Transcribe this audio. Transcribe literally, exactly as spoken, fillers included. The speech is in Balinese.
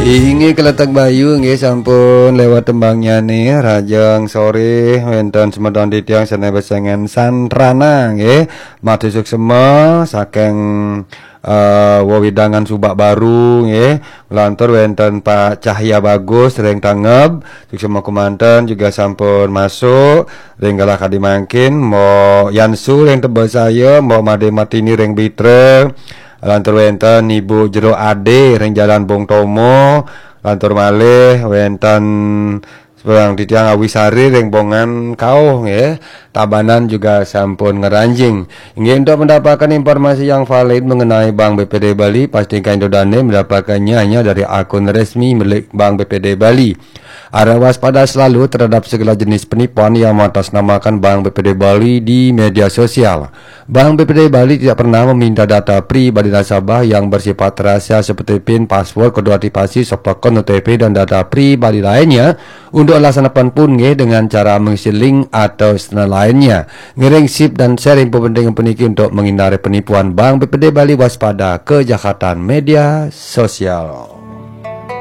Inggih keletek bayu nggih sampun lewat tembangnya nih, rajang sore wenten semeton titiang sane besengen Santrana nggih. Matur suksema saking eh, wewidangan Subak Baru nggih. Lantur wenten Pak Cahya Bagus ring Tangeb, suksema kemanten juga sampun masuk ring galah kadi mangkin, Mbok Yansu ring Tebesaya, Mbok Made Martini ring Bitra. Lantur wenten Ibu Jero Ade ring Jalan Bung Tomo. Lantur malih wenten seorang titiang Awisari ring Bongan Kauh nggih. Tabanan juga sampun ngranjing. Inggih, untuk mendapatkan informasi yang valid mengenai Bank B P D Bali, pastikan Anda dane mendapatkannya hanya dari akun resmi milik Bank B P D Bali. Harap waspada selalu terhadap segala jenis penipuan yang mengatasnamakan Bank B P D Bali di media sosial. Bank B P D Bali tidak pernah meminta data pribadi nasabah yang bersifat rahasia seperti pin, password, kode aktivasi, soft account, O T P, dan data pribadi lainnya untuk alasan apapun nggih dengan cara mengisi link atau standar lainnya. Ngiring sip dan share info penting puniki untuk menghindari penipuan. Bank B P D Bali, waspada kejahatan media sosial.